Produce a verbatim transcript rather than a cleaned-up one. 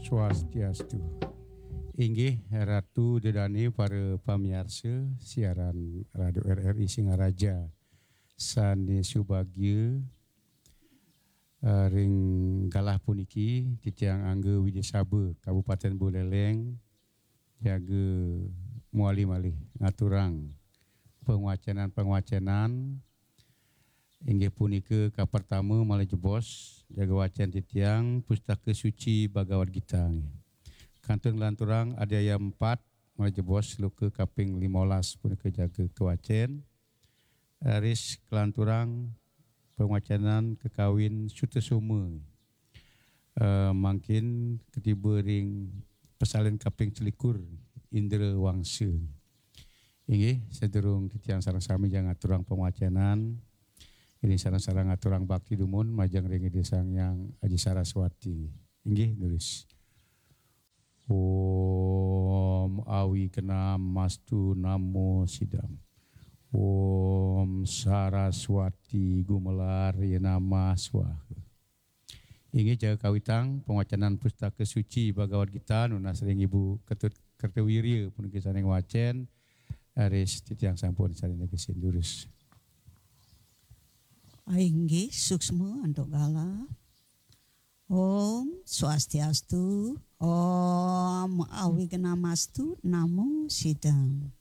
Swastiastu. Inggih Ratu Dedane, para pamiarsa siaran Radio R R I Singaraja sane subagya, eh, ring galah puniki titiang Angga Widya Saba, Kabupaten Buleleng, jaga mawali malih ngaturang pangwacenan-pangwacenan. Inggih punika kapertama malih jebos, jaga wacen titiang Pustaka Suci Bhagavad Gita. Kantun nglanturang Adhyaya empat malih jebos, sloka kaping limolas punika jaga kawacen. Raris kalanturang pangwacenan kakawin Sutasoma. Eh, mangkin katiba ring pasalin kaping selikur, Indra Wangsa. Inggih, sadurung titiang sareng sami jagi ngaturang pangwacenan, inggih sareng-sareng ngaturang bakti dumun majeng ring Ida Sang Hyang Aji Saraswati. Inggih, durus. Om Awignamastu Namo Sidam. Om Saraswati Gumelar Yenama Swaha. Inggih, jaga kawitang pangwacenan Pustaka Suci Bhagavad Gita nunas ring Ibu Ketut Kertawirya puniki sane ngwacen, raris titiang sampun sane negesin, durus. Inggih, suksma antuk galah. Om Swastiastu, Om Awignamastu Namo Sidam.